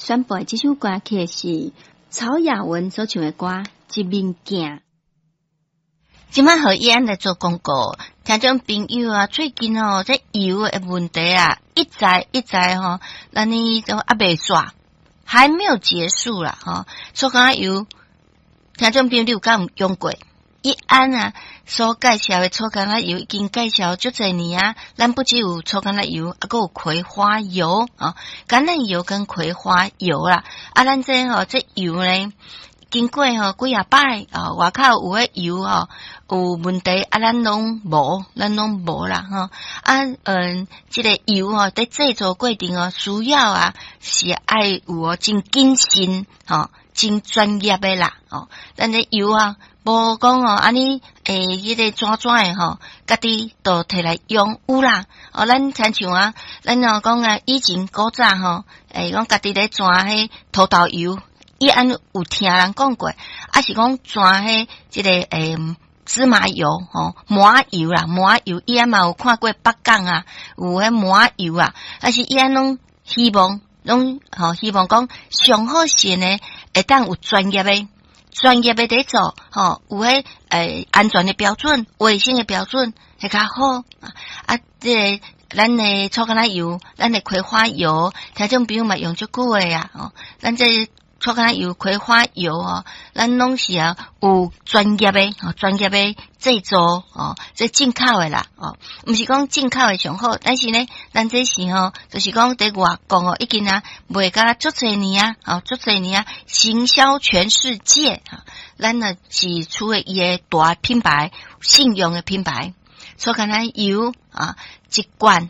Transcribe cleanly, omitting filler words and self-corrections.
選播的這首歌曲是曹雅雯所唱的歌《一面鏡》。這擺予伊按來做廣告，聽眾朋友啊，最近哦，這油的問題啊，一再一再吼，咱呢都猶未煞，還沒有結束啦，吼。粗柑仔油，聽眾朋友你有敢有用過？伊按啊所介紹的粗柑仔油已經介紹足濟年啊，咱不只有粗柑仔油，猶閣有葵花油啊，橄欖油跟葵花油啦，啊，咱這吼這油呢，經過吼幾仔擺啊，外口有的油吼有問題，啊，咱攏無，咱攏無啦吼。啊，這個油吼佇製作過程哦，需要啊是愛有哦真謹慎吼，真專業的啦哦。咱這油啊，無講哦，按呢彼個怎怎的吼，家己就提來用有啦。哦，咱親像啊，咱若講啊，以前古早吼，講家己咧鑽彼土豆油。伊按有聽人講過，抑是講鑽彼這個芝麻油吼，麻油啦，麻油，伊按嘛有看過北港啊，有彼麻油啊，但是伊按攏希望，攏吼希望講上好是呢，會當有專業的，專業的佇做，吼，有彼安全的標準、衛生的標準會較好啊，這個。咱的粗柑仔油，咱的葵花油，聽眾朋友嘛用足久的啊，吼，咱這粗柑仔油、葵花油哦，咱攏是啊有專業的，吼，專業的製作哦，這進口的啦，哦，毋是講進口的上好，但是呢，咱這是吼，就是講佇外國哦，已經啊賣甲足濟年啊，哦，足濟年啊，行銷全世界啊，咱呢是出的伊的大品牌、信用的品牌，粗柑仔油啊，一罐。